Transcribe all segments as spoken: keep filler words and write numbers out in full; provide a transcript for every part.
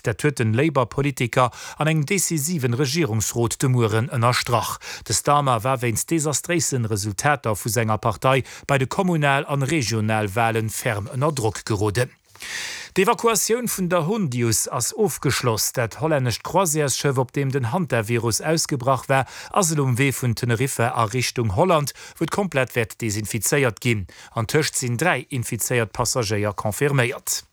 Brexit. Dat huet den Labour-Politiker an engem decisiven Regierungsrot de Mueren ënnerstrach. De Starmer war wéinst desastréisen Resultater vu senger Partei bei de Kommunal an Regionalwalen ferm ënner Drock geroden. D'Evakuatioun vun der Hondius ass ofgeschloss. Dat hollännescht Croisièresschëff, op deem den Hantavirus ausgebrach war, ass elo um Wee vun Teneriffa a Richtung Holland, wou et komplett wäert desinfizéiert ginn. Antëscht sinn dräi infizéiert Passagéier confirméiert.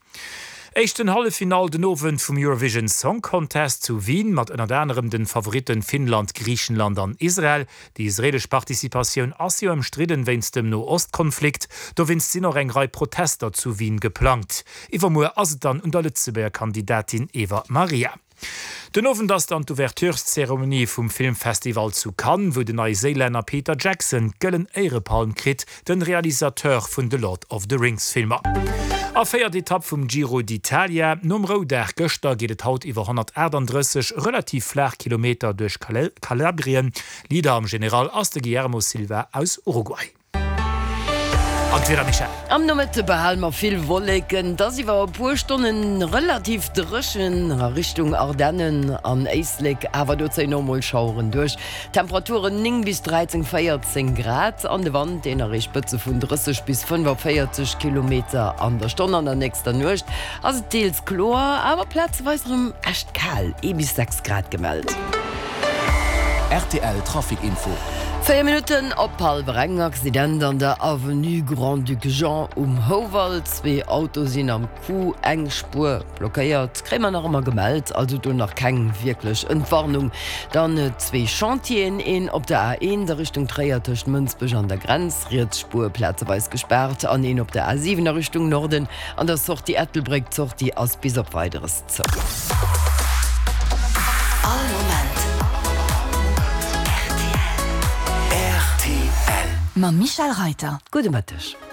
Éischten Halleffinall den Owend vum Eurovision Song Contest zu Wien mat ënnert anerem den Favoritten Finnland, Griichenland an Israel. Déi israelesch Participatioun ass jo ëmstridden wéinst dem No-Ost-Konflikt. Dowéinst sinn och eng Rei Protester zu Wien geplangt. Iwwermuer ass et dann un der Lëtzebuerger Kandidatin Eva Maria. Den Owend ass dann d'Ouvertureszeremonie vum Filmfestival zu Cannes, wou den Neiséilänner Peter Jackson d'Gëllen Éierepalm kritt, den Realisateur vun de Lord of the Rings Filmer. A véiert Etapp vum Giro d'Italia. Nom Roudag gëschter geet et haut iwwer honnertaachtanddrësseg relativ flaach Kilometer duerch Kalabrien. Leader am General ass de Guillermo Silva aus Uruguay. An d'Wieder, Michèle? Am Nomëtte behale mer vill Wolleken, et ass iwwer e puer Stonne relativ dréchen a Richtung Ardennen an Éislek, awer do zéien och mol Schaueren duerch. Temperaturen néng bis dräizéng, véierzéng Grad an de Wand, deen erreecht Spëtze vun drësseg bis fënnefaféierzeg Kilometer an der Stonn. An der nächster Nuecht ass et deels kloer, awer plazeweis erëm echt kal, ee bis sechs Grad gemellt. Rtl Trafic Info. Véier Minutten op hallwer eng, Accident an der Avenue Grand-Duc Jean um Houwald. Zwee Auto sinn am Coup, eng Spuer blockéiert, kréie mer nach ëmmer gemellt, also do nach keng wierklech Entwarnung. Dann zwee Chantieren, een op der A eent a Richtung Tréier tëscht Mënsbech an der Grenz, riets Spuer plazeweis gespaart, an een op der A siwen a Richtung Norden an der Sortie Ettelbréck. D'Sortie ass bis op Weideres zou. All Moment rtl. Mam Michèle Reiter. Gudde Mëtteg.